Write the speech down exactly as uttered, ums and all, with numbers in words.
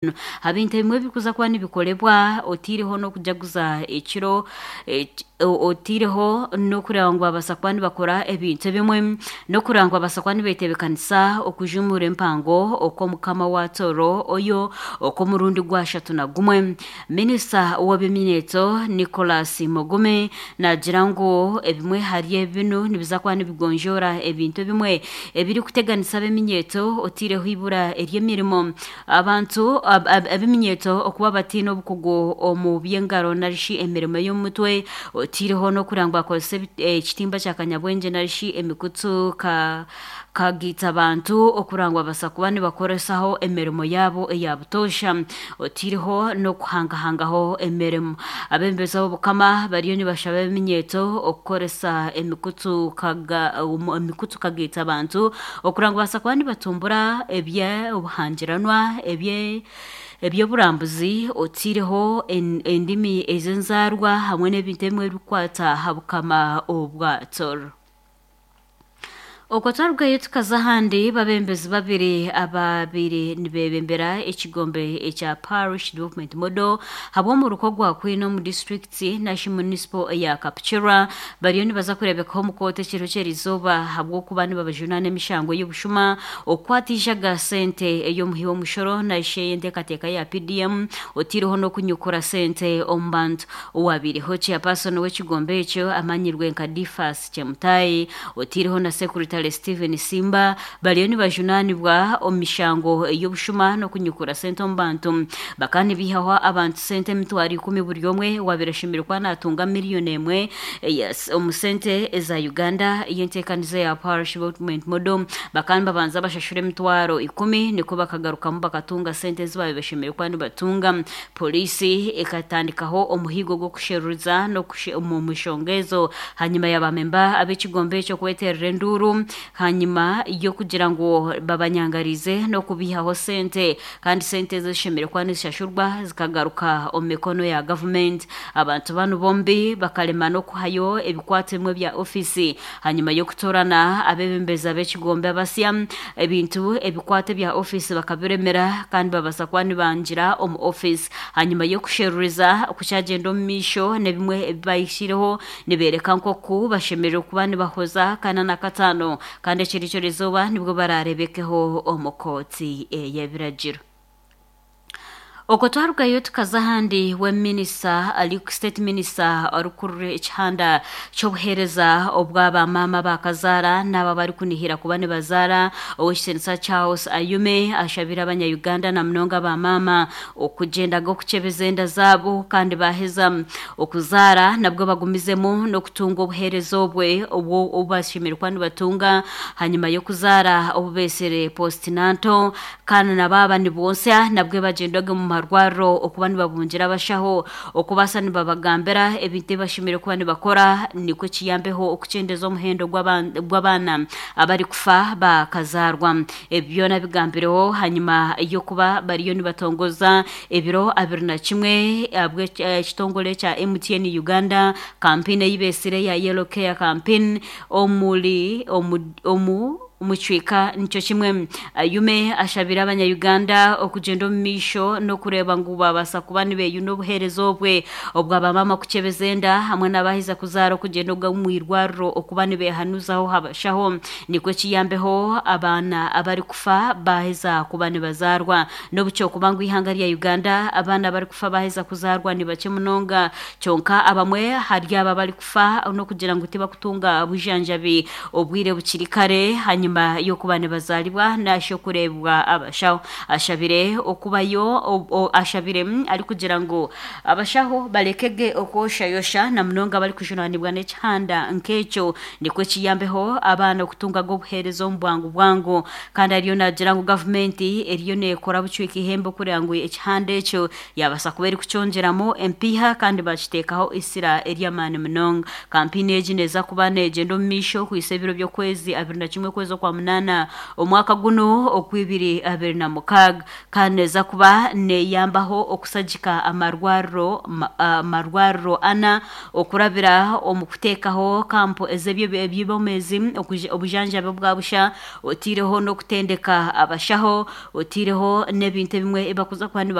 Ebintu ebimwe ebirikuza kuba nibikolebwa otiireho n'okujaguza ekiro otiireho n'okureba ngu babaasa kuba nibakora ebintu ebimwe n'okureba ngu babaasa kuba nibetebeekanisa okujumura empango okw'omukama wa Tooro Oyo okw'omurundi gwashatu na gumwe. Minisita w'eby'eminyeeto Nicholas Mugume naagira ngu ebimwe ahari binu nibiza kuba nibigonjoora ebintu ebimwe ebirikuteganisa ab'eminyeeto otiireho eibura ery'emirimo. Abantu ab'eminyeeto okuba bataine obukugu omu by'engaro narishi emirimo y'omu mutwe otiireho n'okureba ngu bakozesa ekitimba kya kanyabwengye narishi emikutu kagaita bantu okureba ngu babaasa kuba nibakoresaho emirimo yaabo eya butoosha otiireho n'okuhangahangaho emirimo. Abeebembezi b'obukama bariyo nibashaba ab'eminyeeto okukoresa emikutu emikutu kagaita bantu okureba ngu babaasa kuba nibatumbura eby'obuhangiranwa eby'oburambuzi otiireho endimi ez'enzaarwa hamwe n'ebintu ebimwe ebirikukwata aha bukama obwa Tooro. Okwo twarugayo tukaza ahandi babembezi babiri ababaire nibeebembera ekigombe ekya Parish Development Model habw'omuruka ogwa Kwine omu disitulikiti narishi munisipo eya Kapchorwa bariyo nibaza kureebekaho omu kooti ekiro ky'erizooba ahabw'okuba nibabajunaana emishango y'obushuma, okukwata eijaga sente ey'omuhi w'omushoro narishi ey'enteekateeka ya P D M, otiireho n'okunyukura sente omu bantu. Owabaireho chairperson w'ekigombe ekyo amanyirwe nka Difas Chemutai otiireho na Secretary Stephen Simba bariyo nibajunaanibwa omu mishango y'obushuma n'okunyukura sente omu bantu. Bakaba nibaihaho abantu sente emitwaro ikumi buri omwe owaabaire ashemereire kuba naatunga miliyoni emwe omu sente eza Uganda ey'enteekaniza ya Parish Development Model. Bakaba nibabanza bashashura emitwaro ikumi nikwo bakagarukamu bakatunga sente ezi baabaire bashemereire kuba nibatunga. Pooriisi ekatandikaho omuhigo gw'okusheruriza omu nshonga ezo hanyima ya bamemba ab'ekigombe ekyo kweterera enduuru hanyima y'okugira ngu babanyangarize n'okubaihaho sente kandi sente ezo zishemereire kuba nizishashurwa zikagaruka omu mikono ya gavumenti. Abantu banu bombi bakarema n'okuhayo ebikwato ebimwe bya ofiisi hanyima y'okutoorana abeebembezi ab'ekigombe abasya. Ebintu ebikwato ebya ofiisi bakabiremera kandi babaasa kuba nibangira omu ofiisi hanyima y'okusheruriza kukyagenda omu maisho n'ebimwe ebi bahikireho nibeereka nk'oku bashemereire kuba nibahoza kana na kataano kandi ekiro ky'erizooba nibwo baraarebekeho omu kooti ey'ebiragiro. Okwo twarugayo tukaza ahandi we minisita ari state minister orikurira ekihanda ky'obuheereza obw'abamaama bakazaara n'abo abarikunihira kuba nibazaara, Owekitinisa Charles Ayume, ashabire abanya-Uganda na munonga abamaama okugyendaga okukyebeza enda zaabo kandi baaheza okuzaara nabwo bagumizemu n'okutunga obuheereza obwe obu bashemereire kuba nibatunga hanyima y'okuzaara obu beesire postnatal, kandi na baaba nibonsya nabwo bagyendaga omu marwariro okuba nibabungira abashaho okubaasa nibabagambira ebintu ebi bashemereire kuba nibakora nikwo kiyambeho okukyendeza omuhendo gw'abaana abarikufa bakazaarwa. Ebi byona bigambireho hanyima y'okuba bariyo nibatongoza ebiro abiri na kimwe ekitongore kya M T N Uganda campaign ei beesire eya Yellow Care Campaign omuri omu omu kicweka nikyo kimwe. Ayume ashabire abanya-Uganda okugyenda omu maisho n'okureeba ngu babaasa kuba nibeyuna obuheereza obwe obw'abamaama kukyebeza enda hamwe n'abaheza kuzaara okugyenda omu irwariro okuba nibeehanuzaho abashaho nikwo kiyambeho abaana abarikufa baaheza kuba nibazaarwa. N'obu kyokuba ngu eihanga rya Uganda abaana abarikufa baaheza kuzaarwa ni bakye munonga, kyonka abamwe hari abo abarikufa n'okugira ngu tibakutunga bujanjabi obwire bukiri kare hanyuma y'okuba nibazaalibwa narishi okureebwa abashaho. Ashabire okubayo ashabire arikugira ngu abashaho barekege okwoshayosha na munonga abarikujunaanibwa n'ekihanda nk'ekyo nikwo kiyambeho abaana okutungaga obuheereza omu bwangu bwangu. Kandi ariyo naagira ngu gavumenti eriyo neekora bucweka ihembe okureba ngu ekihanda ekyo yabaasa kuba erikukyongyeramu empiiha kandi bakiteekaho isira ery'amaani munonga. Kampeyini egi neeza kuba neegyenda omu maisho kuhisa ebiro by'okwezi abiri na kimwe okwezi. z'okwa munaana omwaka guno okw'ibiri abiri na mukaaga. Kandi neeza kuba neeyambaho okusagika amarwariro amarwariro ana okurabira omu kuteekaho kampu ez'eby'eby'obwomeezi, obujanjabi obwa busha, otiireho n'okutendeka abashaho, otiireho n'ebintu ebimwe ebi bakuza kuba niba